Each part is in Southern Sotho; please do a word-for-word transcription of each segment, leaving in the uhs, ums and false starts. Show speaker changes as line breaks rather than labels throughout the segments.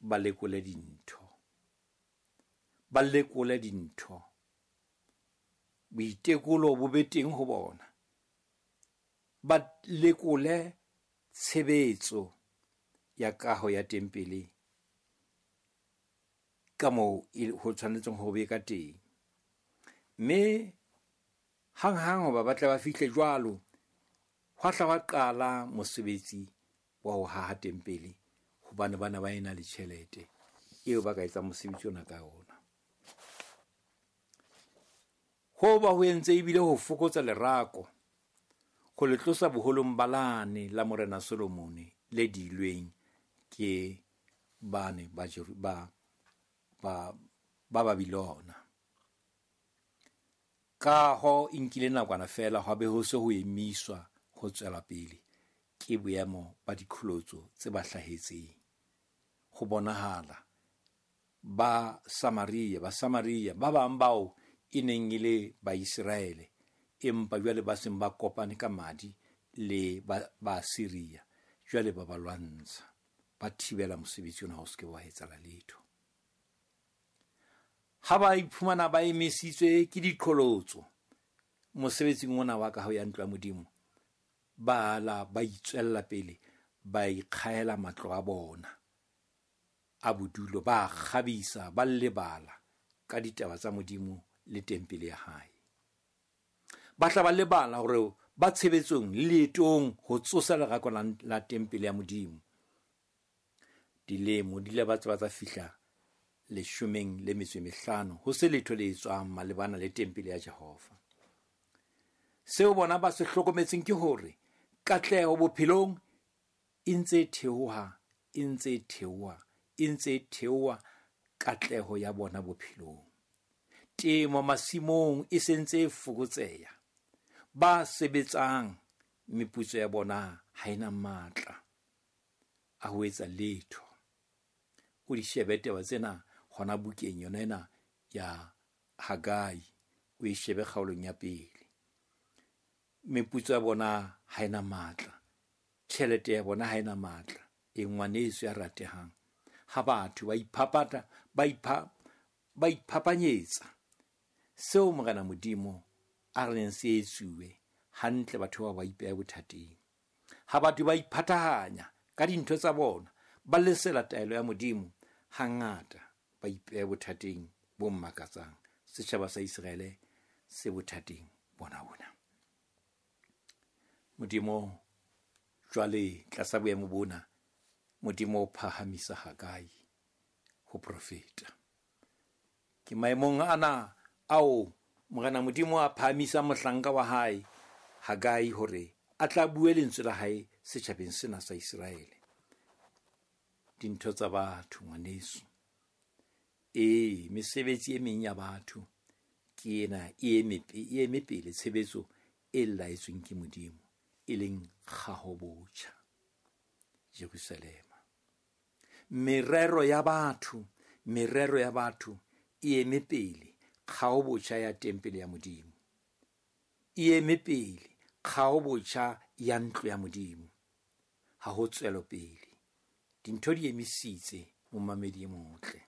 ba lekole dintho. Ba lekole dintho. Boitekolo bo be teng ho bona. Ba lekole tshebetso ya kaho ya tempele ka moo ho tshwanetseng ho be ka teng. Mme hang-hang hoba ba tle ba fihle jwalo, hwa hla hwa qala mosebetsi wa ho haha tempele, hobane bana ba ena le tjhelete eo ba ka etsang mosebetsi ona ka ona. Ho ba ho entse ebile ho fokotsa lerako, ho le tlosa boholong ba lane la Morena Solomone le dilweng ke bane ba ba ba ba Babilona. Kaho e nkile nakwana feela hwa be ho se ho emiswa ho tswela pele ke boemo ba diqholotso tse ba hlahetseng. Ho bonahala ba Samaria, ba Samaria ba bang bao e neng e le Baiseraele, empa jwale ba seng ba kopane ka madi le ba, ba Syria, jwale ba ba lwantsha, ba thibela mosebetsi ona ho se ke wa etsahala letho. Ha ba iphumana ba emisitswe ke diqholotso mosebetsing ona wa kaho ya ntlo ya Modimo, ba la ba itswella pele, ba ikgahela matlo a bona a bodulo, ba kgabisa, ba lebala ka ditaba tsa Modimo le tempele ya hae. Ba tla ba lebala hore ba tshebetsong le leetong ho tsosa lerako la, la tempele ya Modimo. Dilemo di ile ba tseba tsa fihla leshomeng le metso e mehlano, ho se letho le etswang malebana le tempele ya Jehova. Seo bona ba se hlokometseng ke hore katleho bophelong e ntse e theoha, e ntse e theoha, e ntse e theoha katleho ya bona bophelong. Temo masimong e se ntse e fokotseha. Ba sebetsang meputso ya bona ha ena matla a ho etsa letho. O di shebe taba tsena hona bukeng yona ena ya Hagai, o e shebe kgaolong ya pele. Meputso ya bona ha ena matla, tjhelete ya bona ha ena matla. E ngwaneso ya ratehang, ha batho ba iphapata, ba ipha, ba iphapanyetsa seo Morena Modimo a reng se etsuwe hantle, batho ba ba ipeha bothateng. Ha batho ba iphathahanya ka dintho tsa bona, ba lesela taelo ya Modimo, hangata ba ipeha bothateng bo mmakatsang. Setjhaba sa Iseraele se bothateng bona bona. Modimo jwale tlasa boemo bona, Modimo o phahamisa Hagai ho profeta. Ke maemong ana ao Morena Modimo a phahamisa mohlanka wa hae Hagai hore a tla bue lentswe la hae setjhabeng sena sa Iseraele. Dintho tsa batho ngwaneso, ee, mesebetsi e meng ya batho ke ena e eme, e eme pele tshebetso e laetsweng ke Modimo, e leng kgaho botjha Jerusalema. Merero ya batho, merero ya batho e eme pele kgaho botjha ya tempele ya Modimo, e eme pele kgaho botjha ya ntlo ya Modimo. Ha ho tswelopele, dintho di emisitse momamedi e motle.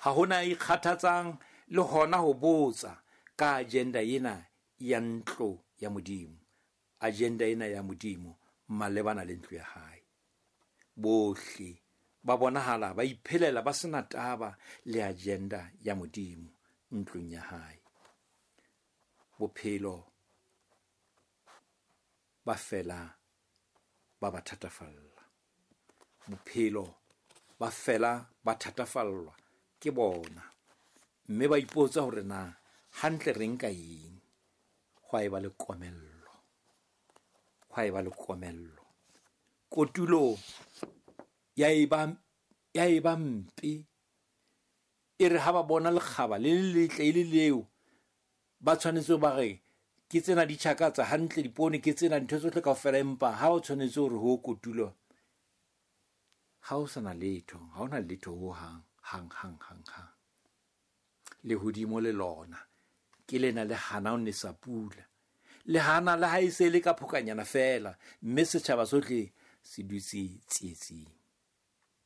Ha hona ikgathatsang le hona ho botsa ka agenda ena ya ntlo ya Modimo, agenda ena ya Modimo malebana le ntlo ya hae. Bohle ba bonahala ba iphelela ba sena taba le agenda ya Modimo ntlong ya hae. Bophelo ba fela ba ba thatafalla. Bophelo ba fela ba thatafallwa ke bona, mme ba ipotsa hore na hantle re nka eng. Hwa eba le komello, hwa eba le komello. Kotulo ya eba, ya eba mpe. E re ha ba bona lekgaba le le letle e le leo, ba tshwanetse ba re ke tsena di tjhakatsa hantle dipoone, ke tsena ntho tsohle kaofela, empa ha o tshwanetse hore ho kotulo, ha o sana letho, ha hona letho ho hang, hang, hang, hang, hang. Lehodimo le lona ke lena le hana ho nesa pula, le hana le ha e se le ka phokanyana feela, mme setjhaba sohle se dutse tsietsing.